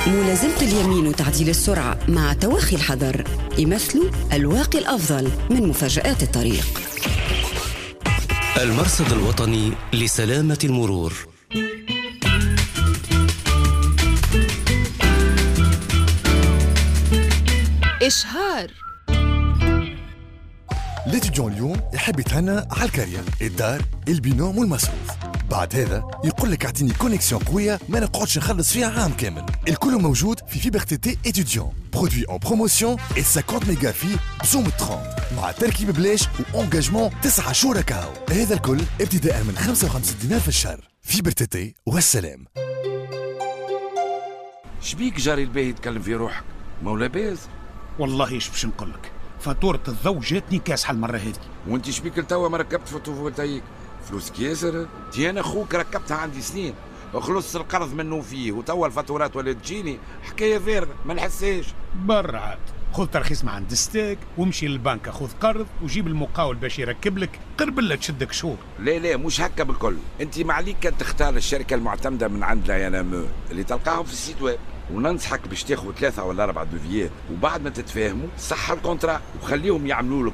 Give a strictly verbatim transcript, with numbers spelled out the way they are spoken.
ملازمة اليمين وتعديل السرعة مع توخي الحذر يمثلوا الواقي الأفضل من مفاجآت الطريق. المرصد الوطني لسلامة المرور. إشهار. l'étudiant اليوم يحب يتهنى على الكارية، الدار، ال binôme والمصروف. بعد هذا يقول لك اعطيني connexion قوية ما نقعدش نخلص فيها عام كامل. الكل موجود في fibre T T étudiant، produit en promotion خمسين ميجا في بسوم ثلاثين مع تركيب بلاش و engagement تسعة شهور كاو. هذا الكل ابتداء من خمسة وخمسين دينار في الشهر. fibre T T والسلام. شبيك جاري الباهي يتكلم في روحك؟ مولا باز. والله ايش باش نقول لك، فاتورة الضوء جاتني كاسحة المرة هذه. وانت شبيك لتوا ما ركبت photovoltaïque؟ فلوسك ياسر. تي انا خوك ركبتها عندي سنين، خلصت القرض منه فيه، وتوا الفاتورات ولات تجيني حكاية فارغة ما نحسهاش. برا عاد خذ ترخيص مع عند STEG وامشي للبنك خذ قرض وجيب المقاول باش يركب لك، قرب لا تشدك شهور. لا لا مش هكا بالكل، انت ما عليك كان تختار الشركة المعتمدة من عند l'ANME اللي تلقاهم في ال site web، وننصحك باش تاخذ ثلاثة ولا أربعة devis ات، وبعد ما تتفاهموا صح ال contrat وخليهم يعملوا لك.